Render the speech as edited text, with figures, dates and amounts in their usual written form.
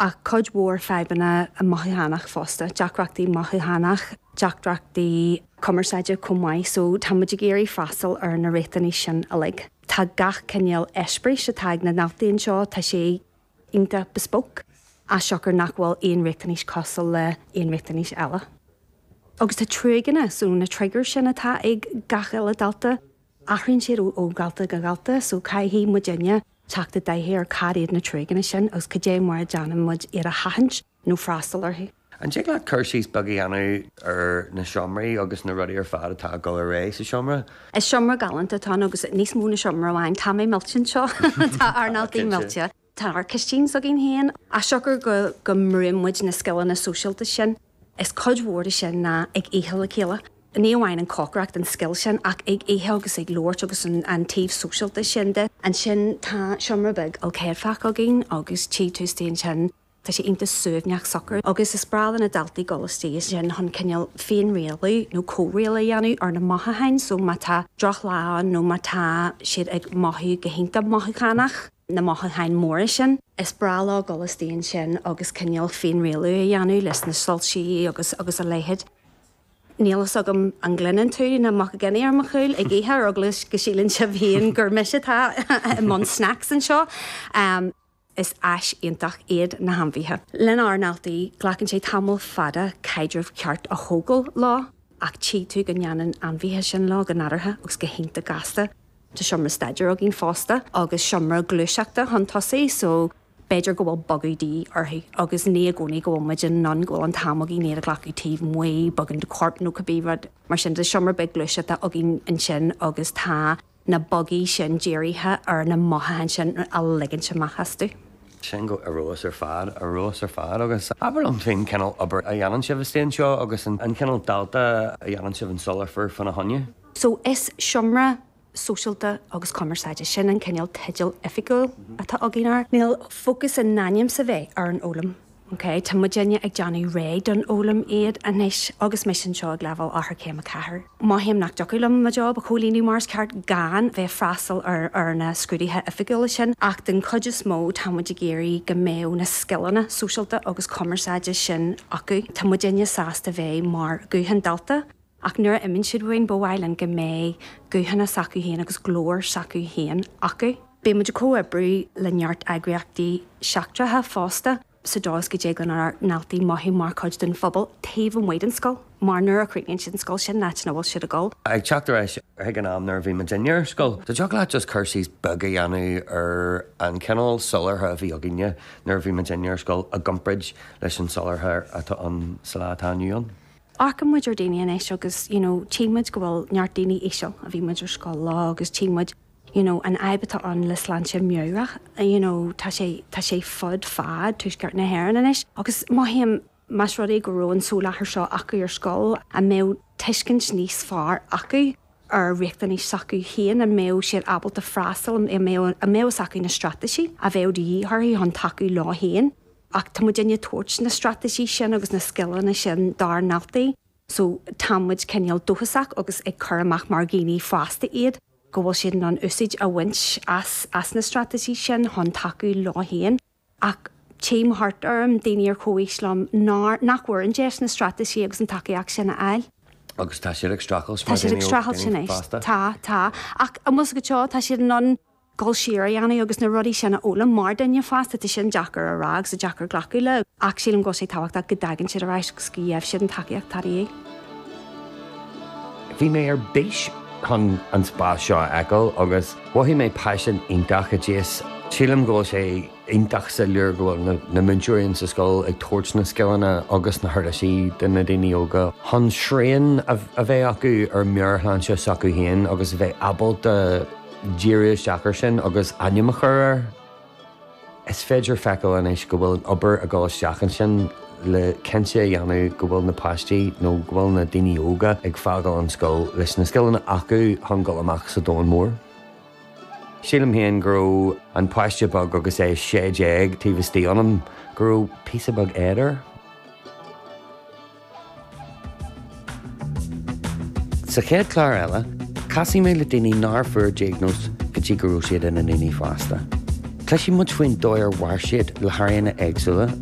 Ach cuid mhór fadhbanna mothúchánach fosta, deacrachtaí mothúchánach, deacrachtaí cumarsáide chomh maith so tá muid ag iarraidh freastal ar na riachtanais sin uilig. Tá gach cineál eispéiris atá ag na ndaltaí anseo, tá sé iontach bespoke, as siocair nach bhfuil aon riachtanais cosúil le aon riachtanais eile. Agus tá triggeranna, so na triggers sin atá ag gach uile dalta, athraíonn siad ó dhalta go dalta so caithfidh muidinne teacht i dtaithí ar cad iad na triggeranna sin agus cad é mar a déanann muid iad a sheachaint nó freastal orthu. An dtig leat cur síos beag a dhéanamh ar na seomraí agus na rudaí ar fad atá ag dul ar aghaidh sa seomra? Is seomra galánta atá ann agus níos mó na seomra amháin. Tá mé millte anseo. Tá ár ndaltaí millte. Tá ár cistín s'againn féin. As siocair go go mbrúnn muid na scileanna sóisialta sin, is cuid mhór de sin ná ag ithe le chéile. Ní amháin an cócaireacht, an scil sin, ach ag ithe agus ag labhairt agus an an taobh sóisialta sin de. Ansin tá seomra beag ilchéadfach againn agus tchí tú istigh ansin, tá sé iontach suaimhneach socair agus is breá le na daltaí dul istigh ansin chun cineál féinrialú nó comhrialú a dhéanamh ar na mothúcháin so má tá drochlá ann nó má tá siad ag mothú go hiontach mothúchánach, na mothúcháin mhóra sin. Is breá leo dul istigh ansin agus cineál féinrialú a dhéanamh leis na soilsí agus agus a leithéid. Níl fhios agam an gcluineann tú na muca gine ar mo chúl ag ithe ar eagla go síleann sibh féin gur mise atá i mbun snacks anseo. Is áis iontach iad na hainmhithe. Lenár ndaltaí, glacann sé tamall fada caidreamh ceart a thógáil leo ach tchí tú go ndéanann ainmhithe sin leo go nádúrtha agus go hiontach gasta. Tá seomra staidéir againn fosta agus seomra gluaiseachta chun tosaigh so b'fhéidir go bhfuil bogadh de dhíth orthu agus ní i gcónaí go bhfuil muid in ann go bhfuil an t-am againn iad a ghlacadh taobh amuigh, bogadh an corp nó cibé rud mar sin. Tá seomra beag gluaiseachta againn ansin agus tá na bogaí sin dírithe ar na mothúcháin sin a ligint amach astu. Sin go ar fheabhas ar fad, ar fheabhas ar fad agus abair liom faoin cineál obair a dhéanann sibh istigh anseo agus an cineál dalta a dhéanann sibh an soláthar fána choinne. So is seomra sóisialta agus cumarsáide, sin an cineál teideal oifigiúil atá againn air. Níl fócas in ainm is a bheith ar an fhoghlaim, ok? Tá muidinne ag déanamh réidh don fhoghlaim iad anois agus mise anseo ag leibhéal Eochairchéim 4. Mothaím nach dtiocfadh liom mo job a chomhlíonadh mar is ceart gan bheith freastal ar ar na scrúduithe oifigiúla sin ach den chuid is mó tá muid ag iarraidh go mbeadh na scileanna sóisialta agus cumarsáide sin acu. Tá muidinne sásta bheith mar ghuth an dalta. Ach nuair a imíonn siad uainn, ba mhaith linn go mbeidh guthanna s'acu féin agus glór s'acu féin acu. Bíonn muid ag comhoibriú le neart eagraíochtaí seachtracha fosta, sa dóigh is go dtig lenár ndaltaí mothú mar chuid den phobal taobh amuigh den scoil, mar nuair a chríochnaíonn siad an scoil, sin an áit ina bhfuil siad ag dul. Ag teacht ar ais chuig an am nuair a bhí muidinne ar scoil, an dtiocfadh leat just cur síos beag a dhéanamh ar an chineál soláthar a bhí againne nuair a bhí muidinne ar scoil i gcomparáid leis an soláthar atá ann sa lá atá inniu ann? Amharcann muid ar daoine anois agus you know tchí muid go bhfuil neart daoine íseal a bhí muid ar scoil leo agus tchí muid you know an fhadhb atá ann le sláinte meabhrach you know tá sé tá sé fud fad tuaisceart na hÉireann anois agus mothaím más rud é go raibh an soláthar seo acu ar scoil an mbeadh tuiscint níos fearr acu ar riachtanais s'acu féin, an mbeadh siad ábalta freastal, an mbeadh an mbeadh fhios acu na straitéisí a bheadh de dhíth orthu chun tacú leo féin. Ach tá muidinne ag tabhairt na straitéisí sin agus na scileanna sin dár ndaltaí so tá muid cineál dóchasach agus ag cur amach mar dhaoine fásta iad go bhfuil siad in ann úsáid a bhaint as as na straitéisí sin chun tacú leo féin. Ach tchím thart orm daoine ar chomhaois liom nár, nach bhfuair an deis na straitéisí agus an tacaíocht sin a fháil. Agus tá siad ag streachailt mar daoine fásta. Tá, tá. Ach an bhfuil fhios agat seo, tá siad in ann dul siar a dhéanamh agus na rudaí sin a fhoghlaim mar duine fásta, tá sin deacair a rá agus deacair glacadh le, ach sílim go bhfuil sé tábhachtach go dtagann siad ar ais agus go bhfaighidh siad an tacaíocht atá de dhíth. Bhí mé ar bís chun an spás seo a fheiceáil agus mhothaigh mé paisean iontach i dtíos. Sílim go bhfuil sé iontach soiléir go bhfuil na múinteoirí in sa scoil ag tabhairt na scileanna agus na huirlisí do na daoine óga chun srian a bheith acu ar meabhairshláinte s'acu féin agus a bheith ábalta díriú isteach air sin agus ainm a chur air. Is féidir feiceáil anois go bhfuil an obair ag dul isteach ansin le cinnte a dhéanamh go bhfuil na páistí nó go bhfuil na daoine óga ag fágáil an scoil leis na scileanna acu chun dul amach sa domhan mór. Sílim féin go raibh an páiste beag agus é 16 taobh istigh ionam, go raibh píosa beag éad air. Sa chéad chlár eile, casfaidh mé le daoine nár fuair diagnóis go dtí go raibh siad ina ndaoine fásta. Cloisfidh muid faoin dóigh ar mhair siad le hairíonna éagsúla.